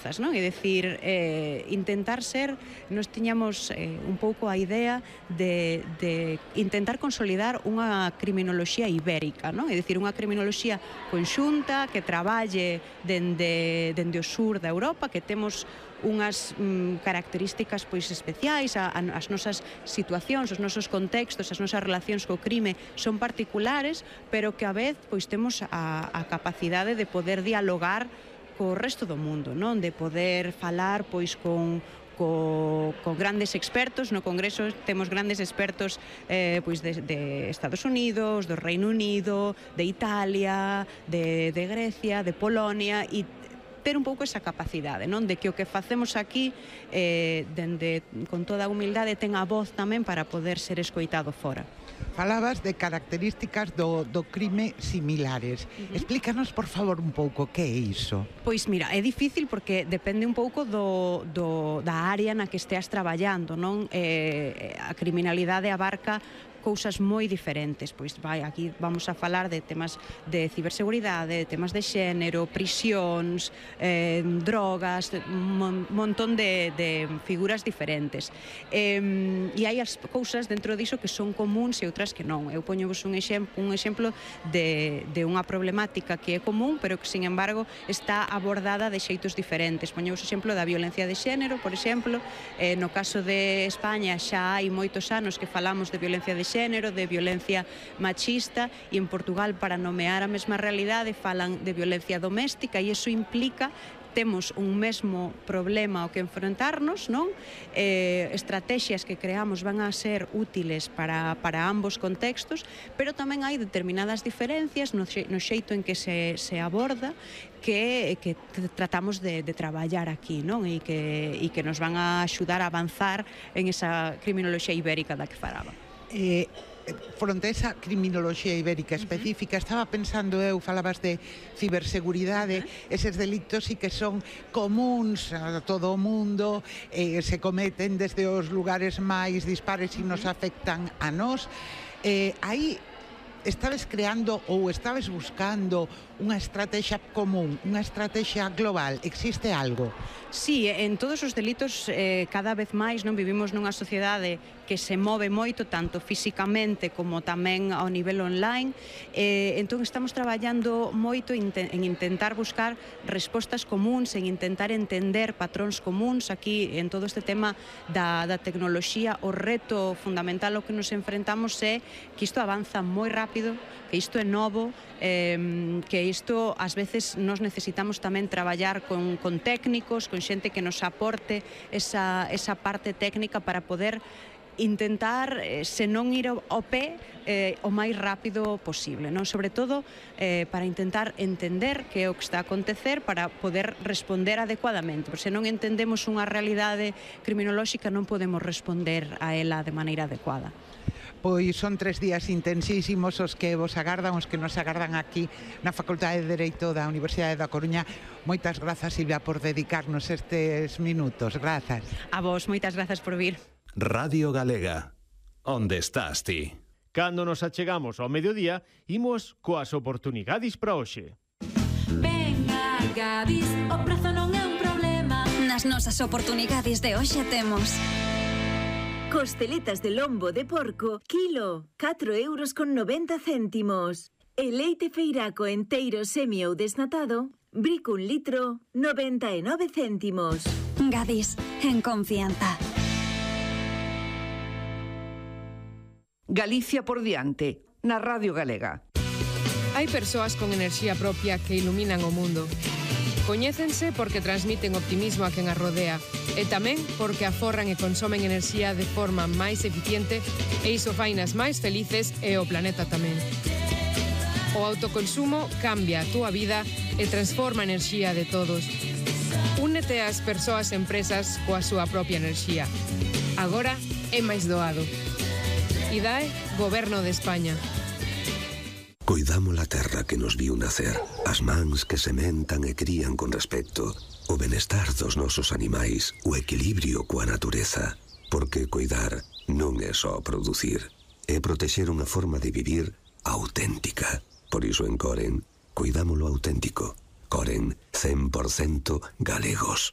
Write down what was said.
forzas, non? É dicir, intentar ser, nos tiñamos un pouco a idea de intentar consolidar unha criminoloxía ibérica, non? É dicir, unha criminoloxía conxunta que traballe dende o sur da Europa, que temos unhas características pois especiais, as nosas situacións, os nosos contextos, as nosas relacións co crime son particulares, pero que a vez pois temos a capacidade de poder dialogar co resto do mundo, non? De poder falar pois con grandes expertos. No Congreso temos grandes expertos pois de Estados Unidos, do Reino Unido, de Italia, de Grecia, de Polonia, e ter un pouco esa capacidade, non? De que o que facemos aquí con toda a humildade ten a voz tamén para poder ser escoitado fora. Falabas de características do crime similares. Explícanos, por favor, un pouco que é iso. Pois mira, é difícil porque depende un pouco da área na que esteas traballando, non? A criminalidade abarca cousas moi diferentes, pois aquí vamos a falar de temas de ciberseguridade, de temas de xénero, prisións, drogas, un montón de figuras diferentes. E hai as cousas dentro diso que son comuns e outras que non. Eu poñovos un exemplo de unha problemática que é común, pero que, sin embargo, está abordada de xeitos diferentes. Poñovos o exemplo da violencia de xénero, por exemplo. No caso de España xa hai moitos anos que falamos de violencia de xénero, de violencia machista, e en Portugal, para nomear a mesma realidade, falan de violencia doméstica, e iso implica temos un mesmo problema ao que enfrentarnos, non? Estrategias que creamos van a ser útiles para ambos contextos, pero tamén hai determinadas diferencias no xeito en que se aborda que tratamos de traballar aquí, non? E que nos van a axudar a avanzar en esa criminoloxía ibérica da que falaba. Fronte a esa criminoloxía ibérica específica, estaba pensando eu, falabas de ciberseguridade, eses delitos sí que son comuns a todo o mundo, se cometen desde os lugares máis dispares e nos afectan a nós. Aí estabes creando ou estabes buscando unha estrategia común, unha estrategia global? Existe algo? Sí, en todos os delitos cada vez máis non vivimos nunha sociedade que se move moito, tanto físicamente como tamén ao nivel online. Entón estamos traballando moito en intentar buscar respostas comuns, en intentar entender patróns comuns. Aquí, en todo este tema da tecnoloxía, o reto fundamental ao que nos enfrentamos é que isto avanza moi rápido, que isto é novo, que isto ás veces nos necesitamos tamén traballar con técnicos, con xente que nos aporte esa parte técnica para poder intentar, se non ir ao pé, o máis rápido posible, non? Sobre todo para intentar entender que é o que está a acontecer, para poder responder adecuadamente, porque se non entendemos unha realidade criminolóxica non podemos responder a ela de maneira adecuada. Pois son 3 días intensísimos os que vos agardan, os que nos agardan aquí na Facultade de Dereito da Universidade da Coruña. Moitas grazas, Silvia, por dedicarnos estes minutos. Grazas. A vos, moitas grazas por vir. Radio Galega. Onde estás ti? Cando nos achegamos ao mediodía, imos coas oportunidades para hoxe. Venga, Gadis, o prezo non é un problema. Nas nosas oportunidades de hoxe temos costeletas de lombo de porco, kilo, 4,90 €. E leite feiraco enteiro semi ou desnatado, brico 1 litro, 99 céntimos. Gadis, en confianza. Galicia por diante, na Radio Galega. Hai persoas con enerxía propia que iluminan o mundo. Coñécense porque transmiten optimismo a quen as rodea e tamén porque aforran e consomen enerxía de forma máis eficiente e iso fainas máis felices e o planeta tamén. O autoconsumo cambia a túa vida e transforma a enerxía de todos. Únete ás persoas e empresas coa súa propia enerxía. Agora é máis doado. IDAE, Goberno de España. Coidamos a terra que nos viu nacer, as mans que sementan e crían con respecto, o benestar dos nosos animais, o equilibrio coa natureza. Porque coidar non é só producir, é protexer unha forma de vivir auténtica. Por iso en Coren, coidamos lo auténtico. Coren, 100% galegos.